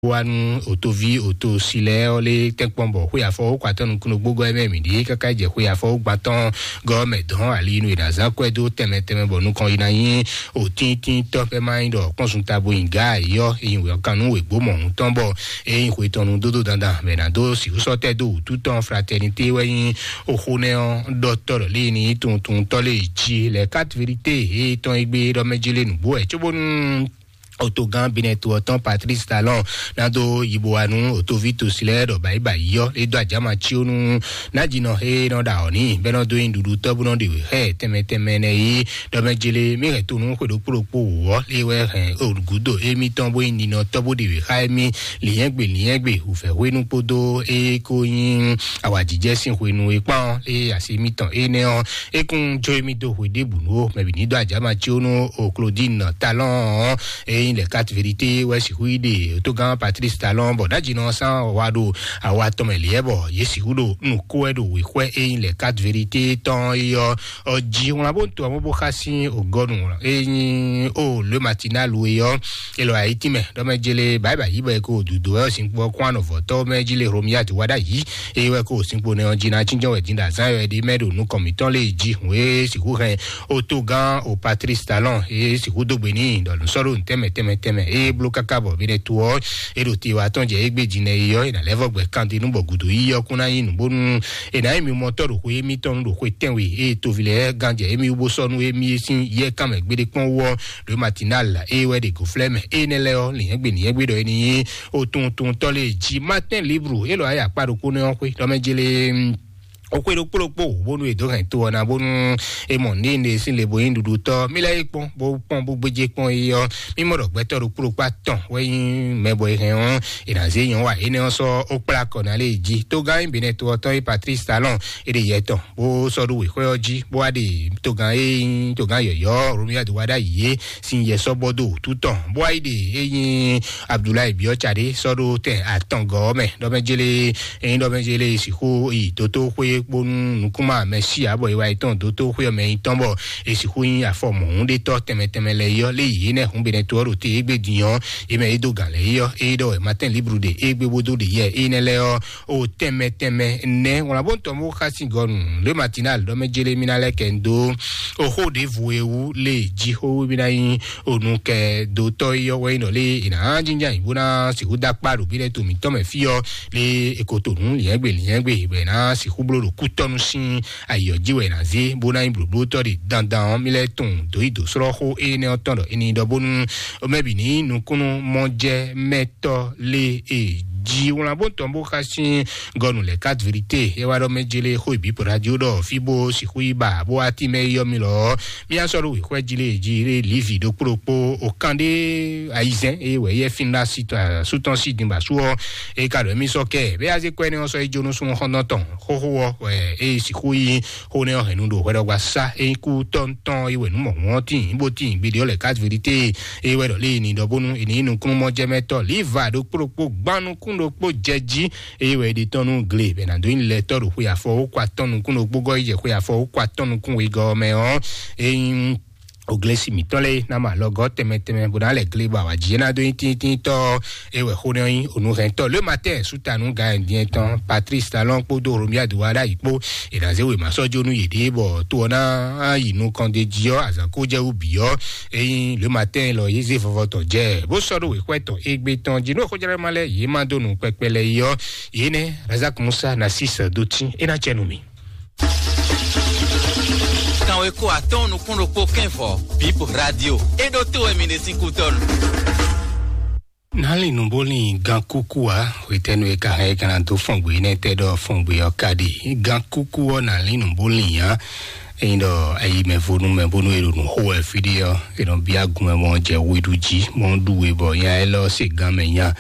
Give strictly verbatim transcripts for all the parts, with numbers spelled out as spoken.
wá nú òtoví òtosi lɛ́ɛ ɔ́ lé tɛ́nkpɔ́n bɔ xwé afɔwókɔ atɔ́ nukúnnú gbógɔ́ ɛ mɛ mǐ ɖíe káká jɛ xwé afɔwógba tɔn gɔ́ mɛ dɔn ali nú è nǎ zán kwɛ́ dó tɛnmɛ tɛnmɛ bɔ nukɔn yi ná nyí òtíntíntɔ́ pɛ́ má nyí ɖɔ kpɔ́nsun tabo nyi gǎ yɔ e nyi wěkan nú wěgbó mɔ̌hun tɔn bɔ e nyi xwe tɔn nu dódó dandan mɛ ná dó sixú sɔ́ tɛ́ dó wǔtu tɔn fraternité wɛ nyí oxó nɛ́ ɔ́ ɖɔtɔ́ ɖɔ lé ní tuntun tɔ́ lé jí lɛ quatre vérité e tɔn e gbé ɖɔ mɛ jí lé nǔgbó wɛ cóbónú otogán Benin to ɔtɔn Patrice Talon ná dó yibo wa nú òtóví tosi lɛ́ɛ ɖɔ báyìí báyìí yɔ é dó àjáma cí ó nú nájínɔ é nɔ ɖa ɔ́ ní bɛ́ nɔ dó nyi ɖuɖu tɔ́ bó nɔ ɖe wě xɛ tɛnmɛ tɛnmɛ nɛ yí ɖɔ mɛ jele mí hɛn to nú xwe ɖokpó ɖokpó wǒ ɔ́ lé wɛ hɛn ògúdo émítɔn bó nyi ninɔ tɔ́ bó ɖe wě xá émí lǐnyɛ́gbe lǐnyɛ́gbe wǔvɛ́ hwenu kpódó é kó nyí awǎjijɛ sín hwenu é kpán ɔ́ lé asi émítɔn énɛ́ ɔ́ é kún jó émí dó hwe ɖěbǔ nú ó mɛ bǐ ní dó àjáma cí ó nú o Claudine Talon ɔ́ eye nyí lɛ quatre vérité wɛ sixú yi ɖe otogán Patrice Talon bɔ ɖajinɔ sán wa ɖo awa tɔn mɛ liɛ bɔ yě sixú ɖo nukó wɛ ɖo wěxwɛ eye nyí lɛ quatre vérité tɔn yi ɔ ɔ jí wlán bó to amó bó xá sín ògɔnu eye nyí o le matinal e ɔ elɔ ayití mɛ ɖɔmɛ jele báyìí báyìí bɔ eko dudo wɛ ɔ sín kpɔ kún anɔ vɔtɔ mɛ jí le Romiat wa ɖa yí eye wɛ ko sín kpo nɛ ɔ jí na cí jɔn wɛ dín ɖa zán yɔ ɛɖí mɛ ɖo nukɔn mǐtɔn lé jí hǔn e sixú hɛn otogán o Patrice Talon e sixú dó gbe n'i ɖɔ nǔ sɔ́ ɖo nǔ tɛnmɛ tɛnmɛ tɛnmɛ e bló káká bɔ mí ɖɛ to ɔ́ e ɖo te wa tɔn jɛ égbé jí nɛ e yɔ e nǎ lɛ́ vɔ gbɛ kande nú bɔ gǔdo yí ɔ́ kún ná nyí nǔ bónú e nǎ nyí mi mɔtɔ́ ɖo xwe émítɔn nu ɖo xwe tɛ́nwe e toví lɛ́ɛ gán jɛ émí wú bó sɔ́ nú émí e sín yɛ kánmɛ gbéɖé kpɔ́n wú ɔ́ ɖo matinal e wɛ ɖe gǒflɛ́ mɛ énɛ́ lɛ́ɛ ɔ́ lǐnyɛ́gbe lǐnyɛ́gbe ɖɔ é ní nyí o tuntuntɔ́ lé jí Matin Libre élɔ́ ayǎ kpá ɖokpó nɛ́ ɔ́ xwé ɖɔ mɛ jele o xwé ɖokpó ɖokpó bónú è dǒ hɛn to ɔ́ ná bónú é mɔ ní ne sín le bo nyí ɖuɖutɔ́ mí lɛ́ yí kpɔ́n bó kpɔ́n bó gbéjé kpɔ́n yi ɔ́ mí mɔ ɖɔ gbɛtɔ́ ɖokpó ɖokpó atɔn wɛ nyí mɛ bɔ è hɛn ɔ́ è nǎ zé nyɔ̌ wa énɛ́ ɔ́ sɔ́ ó kplá kɔ ná lé jí tógán nyí Benin to ɔ́ tɔn é Patrice Talon é ɖe yɛ tɔn bó sɔ́ ɖó wěxwɛ́ ɔ́ jí bó wá ɖe togán é nyí togán yɔ̌yɔ́ Romia do wá ɖ'ayǐ é sín yɛ sɔ́ bɔ dó wútu tɔn bó wá yi ɖe é nyí Abdoulaye Biɔtsa ɖé sɔ́ ɖó tɛn atɔngɔ́ ɔ́ mɛ ɖɔ mɛ jélé é nyí ɖɔ mɛ jélé sixú yi dótóxwé kpónú nukúnmá mɛ sí ǎ bɔ é wá yi tɔn dótóxwé ɔ́ mɛ nyí tɔn bɔ é sixú nyí afɔ mɔ̌hún ɖé tɔ́ tɛnmɛ tɛnmɛ lɛ́ɛ yɔ lé yě nɛ́ hǔn Benɛto ɔ́ ɖo te égbé din ɔ́ é mɛ é dó gǎn lɛ́ɛ yɔ é ɖɔ wɛ Martin Libre ɖe égbé bó dó ɖe yɛ é nɛ́ lɛ́ɛ ɔ́ o tɛnmɛ tɛnmɛ nɛ wlán bó tɔn bó xá sin gɔnu le matinal ɖɔ mɛ jélé mina lɛ kɛ ndo o xó ɖěvo e wú le jí xó wí mina nyi o nu kɛ do tɔ yi ɔwɛ yi nɔ le ina jinja yi bó na sixú da kpa ɖo bí ɖɛ to mi tɔ mɛ fi ɔ le ekoto nu liɛgbe liɛgbe bɛ na sixú blo ɖo kú tɔnu sin ayɔ ji wɛ na zé bó na nyi blóbló tɔ ɖi dandan ɔ mi lɛ tun do yi do srɔ xó e nɛ ɔtɔn ɖɔ eni ɖɔ bónú mɛ bi ní nukúnnú mɔ jɛ mɛ tɔ le e jí wlan bó tɔn bó xa sín gɔnu lɛ quatre vérité e wá ɖɔ mɛ jele xó ibi po radio ɖɔ fi bó sixú yi ba bó wá ti mɛ yɔ mi lɔ mi asɔ ɖo wexwɛ ji le ji le livi ɖokpó ɖokpó o kan ɖe ayizɛn e wɛ yɛ fin la si tɔ su tɔn si din ba su ɔ e ka ɖɔ mi sɔ kɛ bɛ aze kɔ ɛni ɔsɔ e jonu sun xɔndɔn tɔn xoxo ɔ wɛ e sixú yi xó nɛ ɔ hɛn nu ɖo hwɛ ɖɔ gba sa e kú tɔntɔn e wɛ nu mɔ wɔn tin bó tin gbeɖe ɔ lɛ quatre vérité e wɛ ɖɔ le ni ɖɔ bónú e ni nukúnnú mɔ jɛ mɛ tɔ liva ɖokpó ɖokpó gbanu kún ɖokpó jɛ jí eye wɛ ɖi tɔn nú gle bɛ na dó nyi lɛ tɔ ɖo xwe afɔ wó kɔ atɔn nukún ɖokpó gɔ yi jɛ xwe afɔ wó kɔ atɔn nukún wegɔ mɛ ɔ eyin oglesi mǐtɔn lɛ́ɛ ná mɔ alɔgɔ́ tɛnmɛ tɛnmɛ bó ná lɛ gle bɔ awǎjijɛ ná dó nyi tíntíntɔ́ ewɛ xó nɔ nyi onuhɛntɔ le matin sutanu gaɛdiɛn tɔn Patrice Talon kpódó Romia Duwala yi kpó ìdázé wèmá sɔ́ jónú yěɖée bɔ tó ɔ́ ná yi nukɔn d'é jí ɔ́ azǎn kó jɛ wú bǐ ɔ́ eyin le matin lɔ yé zé vɔvɔ tɔn jɛ bó sɔ́ ɖó wěxwɛ tɔn égbé tɔn jí nú xójálá ma lɛ yě má dó nu kpɛkpɛ lɛ yi ɔ́ yě nɛ Razak Musa na sísɛ dó tín é ná cɛ nú mi. Kanweko atɔ́ɔ́n nukún ɖokpó kɛ́nvɔ bip radio é ɖó tó wɛ mi ɖe sín kútɔ́nu. Nali nuboli gan kuku a wetɛnu e ka hɛn e kana do fɔngbe ne tɛ ɖɔ fɔngbe ɔ ka ɖi gan kuku ɔ nali nuboli ya eyin ɖɔ ayi mɛ vonu mɛ bonu e ɖo nu xo wɛ fi ɖi ɔ e nɔ bia gun mɛ mɔ jɛ weɖu ji mɔ ɖu we bɔ ya elɔ se gan mɛ nya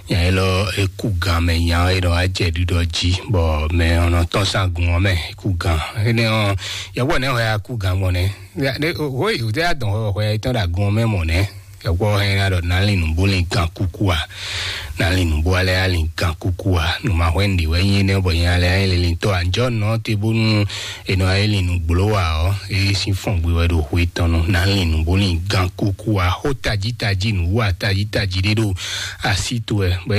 ya elɔ eku gan mɛ nya e nɔ ajɛ ɖiɖɔ ji bɔ mɛ ɔnɔ tɔn sa gun ɔ mɛ eku gan ene ɔ yɛwɔ ne hɔ ya ku gan mɔ ne ne o o de adɔn hɔ ya etɔn ɖa gun ɔ mɛ mɔ ne Yɔkpɔ́ hɛn ná ɖɔ ná lin nǔbó lin gan kúkú a, ná lin nǔbó alɛ á lin gan kúkú a. Nǔmahwɛ́ nɖe wɛ nyí énɛ́ bɔ nyɛ alɛ á lin lintɔ́ anjɔ nɔ te bónú enɔ á lin nǔgbló wa ɔ́, é sín fɔn gbé wɛ ɖo xwé tɔn nú ná lin nǔbó lin gan kúkú a. Xó tají tají nǔ wú a tají tají ɖé ɖo así towe bɔ